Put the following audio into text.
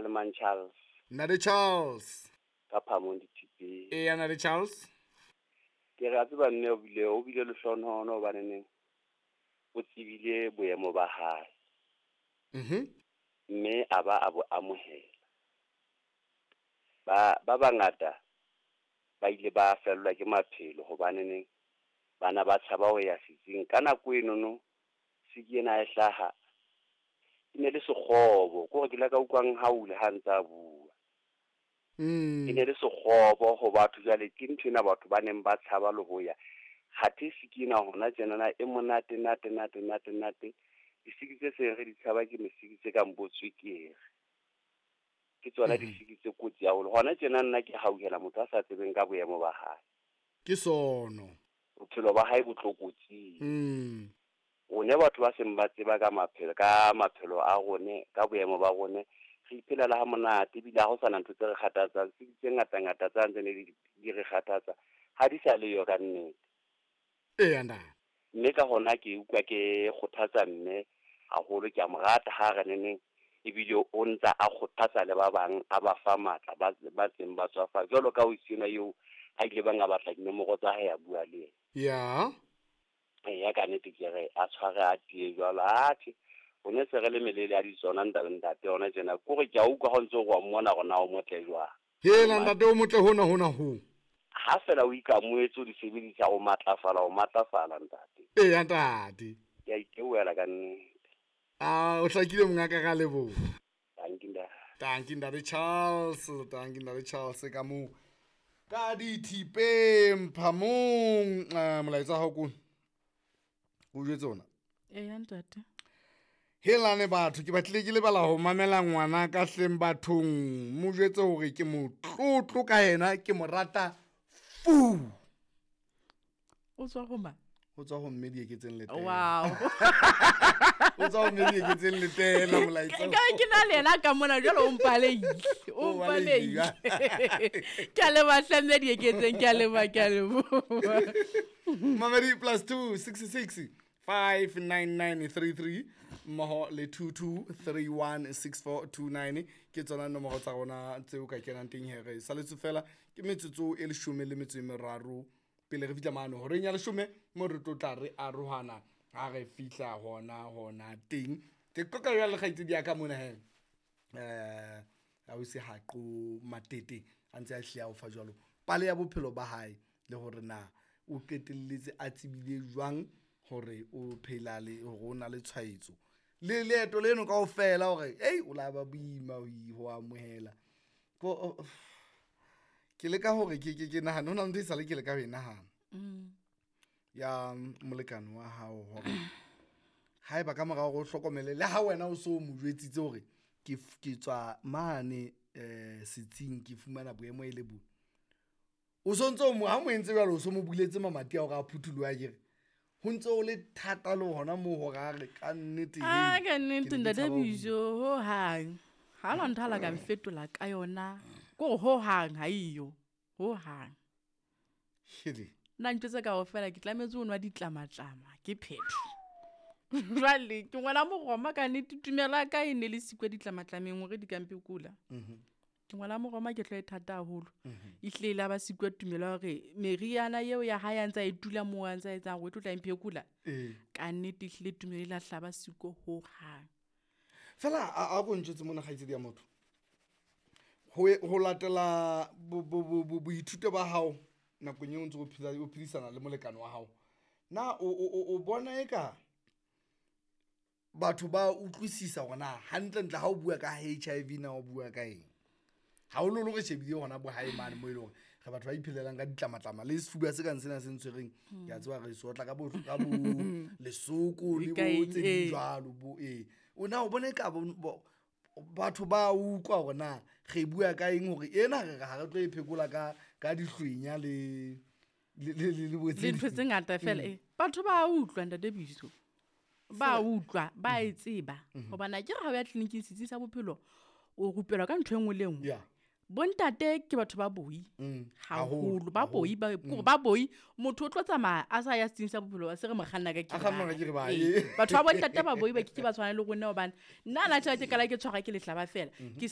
Kgalemang Charles. Ntate Charles. Ka Phamong dithipeng. Eya ntate Charles. Ke re a tseba mme o bile o bile lehlohonono hobaneneng o tsebile boemo ba hae. Mme a ba a bo amohela. Ba ba bangata ba ile ba fellwa ke maphelo hobaneneng bana ba tshaba ho ya setsing ka nako enono siki ena e hlaha e ne le sekgobo ke hore ke ile ka utlwang haule ha ntse a bua. E ne le sekgobo ho batho jwale ke nthwena batho ba neng ba tshaba le ho ya. Kgathe siki ena hona tjenana e monate nate nate nate nate. Disiki tse seng re di tshaba ke mesiki tse kang bo tswekere. Ke tsona disiki tse kotsi haholo. Hona tjena nna ke hauhela motho a sa tsebeng ka boemo ba hae. Ke sono. Bophelo ba hae bo tlokotsing. Rone batho ba seng ba tseba ka maphelo ka maphelo a rone ka boemo ba rone re iphelela ha monate ebile ha ho sana ntho tse re kgathatsang siki tse ngata ngata tsa ntse ne di re kgathatsa ha di sa leyo ka nnete. Eya ntate. Mme ka hona ke utlwa ke kgothatsa mme haholo ke a mo rata ha re neneng ebile o ntsa a kgothatsa le ba bang a ba fa matla ba ba tseng ba tswafa jwalo ka o sena eo a ile bang a batla dinomoro tsa hae a bua le yena. Ya. Eya ka nnete ke re a tshware a tiye jwalo atjhe o ne se re le melele ya ditsona ntate ntate hona tjena kore ke a utlwa ha o ntse o re wa mmona hore na o motle jwang. Hela ntate o motle hona hona ho. Ha fela o ikamoetse o di sebedisa o matlafala o matlafala ntate. Eya ntate. Ke a itebohela ka nnete. A o hlakile mongaka ka leboha. Dankie ntate. Dankie ntate Charles, dankie ntate Charles ka moo. Ka dithipeng phamong molaetsa wa hao ko o jwetse ona. Eya ntate. Helane batho ke batlile ke lebala ho mamela ngwana ka hleng bathong mo jwetse hore ke motlotlo ka yena ke mo rata fu. O tswa ho mang? O tswa ho mme Dieketseng Letela. Wow. O tswa ho mme Dieketseng Letela molaetsa. Ka ke na le yena ka mona jwale o mpaleile. O O mpaleile. mpaleile. Ke a leboha hle mme Dieketseng, ke a leboha, ke a leboha. Mamedi +2 66 59933 mmoho le 22316429 ke tsona nomoro tsa rona tseo ka kenang teng he re saletse fela ke metsotso e 13 pele re fihla mane horeng ya 10 mo re tlo tla re arohana ha re fihla hona hona teng. Ke qoqa jwale le kgaitsedi ya ka mona he ausi Haqo Matete a ntse a hlile a o fa jwalo pale ya bophelo ba hae le hore na o qetelletse a tsebile jwang hore o phela le hore o na le tshwaetso le leeto leno kaofela hore ei o la ba boima ho amohela. Ke leka hore ke nahane ho na le ntho e sale ke leka ho e nahana ya molekane wa hao hore haeba ka mora hore o hlokomele le ha wena o so mo jwetsitse hore ke tswa mane setsing ke fumana boemo e le bo o sontso mo ha mo entse jwalo o so mo buletse mamati a hore a phuthuloha akere ho ntse o le thata le hona moo hore a re ka nnete A ka nnete ke ne ke ntate tshaba ho Bijo ho hang ha la ntho la ka mfetola ka yona ko ho hang ha iyo ho hang. Hele. Nna ntho tse kaofela ke tlametse ho nwa ditlamatlama ke phetho. Jwale ke ngwana Moroma ka nnete tumelo ya ka e ne le sikwe ditlamatlameng hore di ka mphekola. Ke ngwana Moroma ke tlo e thata haholo. Ehlile e la ba sikwe tumelo ya hore meriana eo ya hae a ntse a e tula moo a ntse a etsang hore e tlo tla mphekola. Ka nnete ehlile tumelo e la hlaba siko ho hang. Fela a ko ntjwetse mona kgaitsedi ya motho. Ho latela boithuto ba hao nakong eo o ntse o phela o phedisana le molekane wa hao. Na o bona eka batho ba utlwisisa hore na hantlentle ha o bua ka HIV na o bua ka eng? Haholoholo re shebile hona bo hae mane moo e leng hore re batho ba iphelelang ka ditlamatlama le sefuba se kang sena se ntshwereng. Ke a tseba re se otla ka bo lesoko le bo tse ding jwalo bo ee. O na o bona eka batho ba utlwa hore na re bua ka eng hore ena re re ha re tlo e phekola ka dihlwenya le bo tse Le ntho tse ngata fela, Batho ba utlwa ntate Biso. Ba utlwa, ba e tseba. Hobane akere ha o ya tleliniking setsing sa bophelo o rupelwa ka ntho e nngwe le e nngwe. Bontate ke batho ba boi haholo, ba boi, ba kore ba boi, motho o tlo tsamaya a sa ya setsing sa bophelo ba se re mo kganna ka A kganna ka kere ba. kere ba, Batho ba bontate ba boi ba ke ke ba tshwana le rona hobane nna na tjha ke kala ke tshwara ke lehlaba fela. Ke se